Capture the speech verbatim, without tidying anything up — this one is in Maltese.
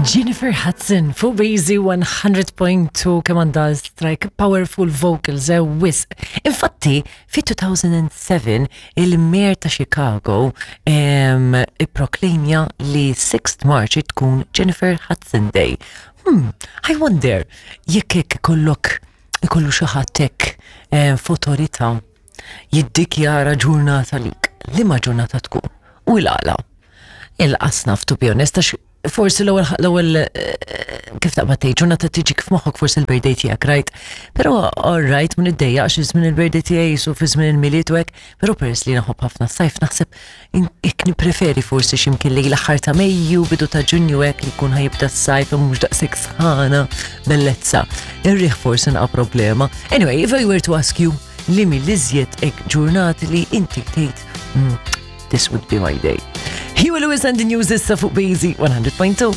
Jennifer Hudson fuq Bazy one hundred point two, kemm għandha strike powerful vocals, eh, wisq. Infatti, fi two thousand seven il-mayor ta' Chicago em, ipproklamja li sixth March tkun Jennifer Hudson Day. Hmm, I wonder jekk hekk ikollok ikollu xi ħadd hekk eh, f'awtorità jiddikjara ġurnata lik. Liema ġurnata tkun? U l-għala? Il-qasnaf, to be honest, għax forsi l-ewwel l-ewwel eh, kif taqbad tgħid ġurnata tiġi kif moħħok forsi il-birthday tiegħek, right? Però all right, mun iddejjaq xi żmien il-birthday tiegħi jisu fi żmien il-Milied u hekk, però peress li naħobb ħafna s-sajf, naħseb hekk nippreferi forsi x'imkien li l-aħħar ta' Mejju, bidu ta' Ġunju hekk, li jkun ħa jibda s-sajf u mhux daqshekk sħana, bellezza. Ir-riħ forsi naqa' problema. Anyway, if I were to ask you li mill-iżjed hekk ġurnati li inti tgħid, mm, this would be my day." Huey Lewis and the News issa fuq Bazy one hundred point two.